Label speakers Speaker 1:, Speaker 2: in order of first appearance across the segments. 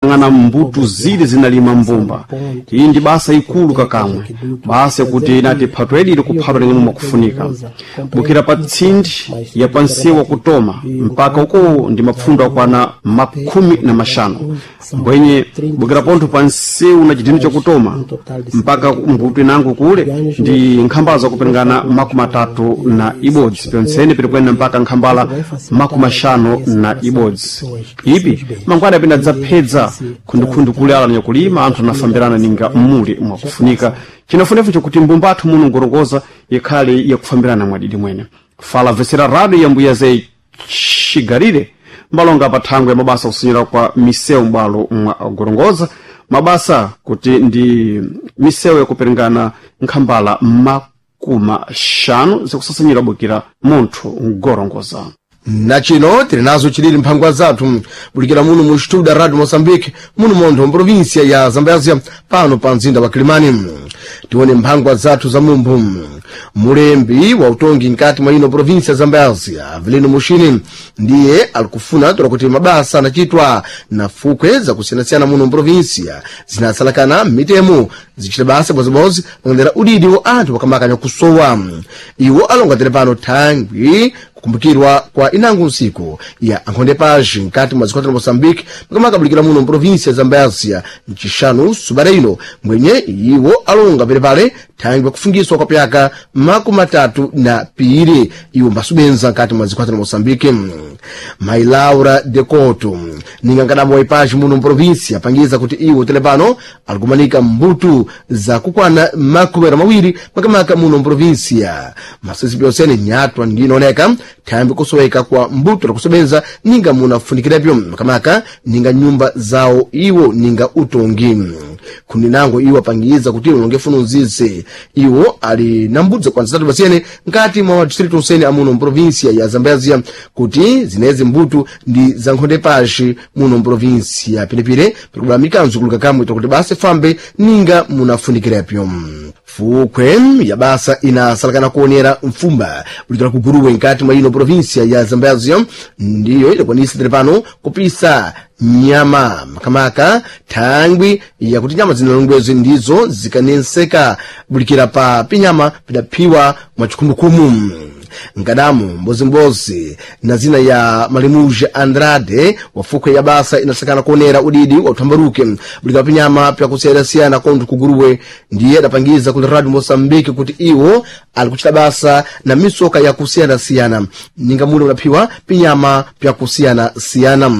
Speaker 1: Ng'ana mbuto zili zinalima mbumba. Iyi ndi basa ikulu kakamwe, basa yakuti inati phato yadiri kuphatwa ling'ono mwakufunika bukira pa tsindi ya pansewu wakutoma mpaka uko ndi mapfundo akwana 50, mbwenye bukira pontho pa nsewu na chidini chakutoma mpaka mbuto inango kule ndi nkhambala zakupengana 31, pyontsene pitikwenda mpaka nkhambala 51. Ipi mangwana apenda dzaphedza khundukhundu kule ala nyakulima anthu anafambirana ninga mmuli mwakufunika. Chinafunefu chakuti mbumba athu muno ngorongoza ikhale yakufambirana mwadidi mwene. Fala vesera radio ya mbuya zei chigarire mbalonga pa thangwe ya mabasa kusinyira kwa misewu m'bwalo mwa gorongoza, mabasa kuti ndi misewu yakuperingana nkhambala 50 zikusasanyira bukira munthu mgorongoza.
Speaker 2: Na chino tili nazo chilili mphangwa zathu bulikira muno mu studio Radio Mozambique muno montho mprovinsia ya Zambezia pano pa mzinda wa Kilimani. Tione mphangwa zathu za mumphu. Mulembi wa utongi nkati mwa ino provinsia ya Zambezia Avelino Mushini ndiye alikufuna tola kuti mabasa anachitwa na fukwe zakusiyanasiyana muno mprovinsia zinasalakana mitemo zichita basa bozibodzi pakandera udidi wa anthu pakamakanya kusowa. Iwo alonga pano thangwi kukumbukirwa kwa inango nsiku ya ankhonde page nkati mwa zikwata la Moçambique pakamakabulikira muno mprovinsia ya Zambésia mchixanu subada ino mwenye iwo alonga pelepale thangwi pakufungiswa kwa pyaka 32 iwo mbasubenza nkati mwa zikwata la Moçambique. Mai Laura de Couto ninga nkadambo wa ipaji muno mprovinsia apangiza kuti iwo telepano alikumanika mbuto za kukwana 20 makamaka muno mprovinsia masisi pyonsene nyatwa ndinooneka thambi kusoweka kwa mbuto lakusobenza ninga munafunikirapyo makamaka ninga nyumba zawo iwo ninga utongi. Kundi nango iwo apangiza kuti ulonge funo nzize iwo ali na mbudzi kwa zitatu pasiyene nkati mwa madistritu onsene amuno mprovinsia ya Zambezia kuti zinezi mbuto ndi za nkhonde pashi muno mprovinsia pinepire pikubala mikanzo kuluka kamwe tokuti basa fambe ninga munafunikirapyo. Fukwe ya basa inasalakana kuonera mfumba bulikira kuguruwe nkati mwa ino provinsia ya Zambezia ndiyo idakwanisa tere pano kupisa nyama makamaka thangwi yakuti nyama zinalongwezi ndizo zikanenseka bulikira pa pinyama pidaphiwa mwa chikhumukhumu. Nkadamu mbozimbozi na zina ya Malimuja Andrade wafukwe ya basa inasakana kuonera udidi wa uthambaruke bulikira pinyama pyakusiyanasiyana kontho kuguruwe ndiye adapangiza kuti Radio Mozambique kuti iwo alikuchita basa na misoka yakusiyanasiyana ninga mule udaphiwa pinyama pyakusiyanasiyana.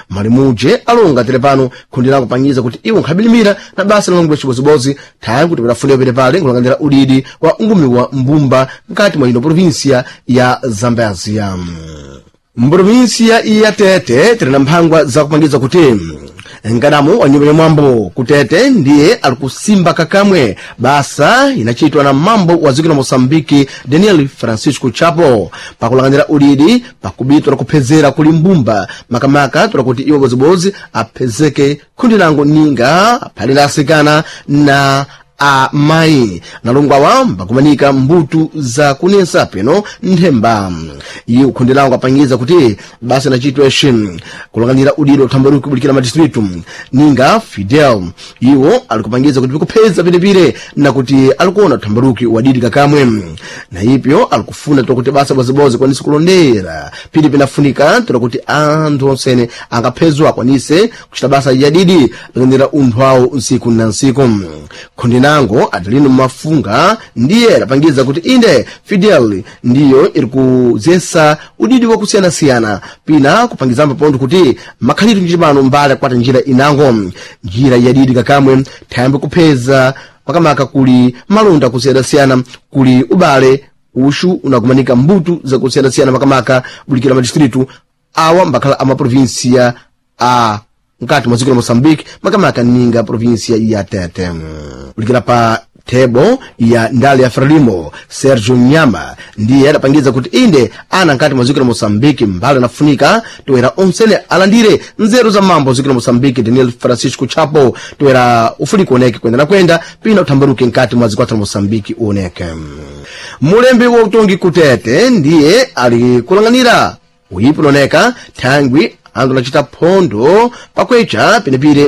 Speaker 2: Malimuje alonga tere pano kundi lango pangiza kuti iwo nkhabilimira na basa lalongwe chibozibozi thangwi kuti padafunika pete pale nkulangandira udidi wa ungumi wa mbumba nkati mwa ino provinsia ya Zambezia. Mprovinsia ya Tete tili na mphangwa zakupangiza kuti nkadamu wa nyumba ya mwambo kutete ndiye alikusimba kakamwe basa inachitwa na mambo wa dziko la Moçambique Daniel Francisco Chapo pakulanganyira udidi pakubitwa na kuphezera kuli mbumba makamaka tola kuti iwo bozibozi aphezeke khundi lango ninga aphale asikana na amayi nalongwawa mbakumanika mbuto za kunensa peno nthemba. Iye ukhundi lango apangiza kuti basa inachitwa ixi kulanganyira udidi uthambaruki kubulikira madistritu ninga Fidel iwo alikupangiza kuti pikupheza pilepile na kuti alikuona uthambaruki wadidi kakamwe na ipyo alikufuna tola kuti basa bozibozi kwanise kulondera pili pinafunika tola kuti anthu onsene angaphezwa akwanise kuchita basa yadidi langanyira unthu awo nsiku na nsiku. Khundi nango Adelino Mafunga ndiye adapangiza kuti inde Fidel ndiyo iri kuzesa udidi wakusiyanasiyana pina kupangizambo pontho kuti makhalidwe njipano mbali akwata njira inango njira yadidi kakamwe thayambe kupheza makamaka kuli malonda akusiyanasiyana kuli ubale uxu unakumanika mbuto zakusiyanasiyana makamaka bulikira madistritu awa mbakhala a maprovinsia a nkati mwa dziko la Moçambique makamaka ninga provinsia ya Tete. Bulikira pa thebo ya ndale ya Frelimo Sergio Nyama ndiye adapangiza kuti inde ana nkati mwa dziko la Moçambique mbali anafunika toera onsene alandire nzeru za mambo dziko la Moçambique Daniel Francisco Chapo toera ufuniko oneke kwenda na kwenda pina uthambaruke nkati mwa dziko la Moçambique uoneke. Mulembi wa utongi kutete ndiye ali kulang'anira uyipo unaoneka thangwi Anthu anachita phondo pakwecha penepire.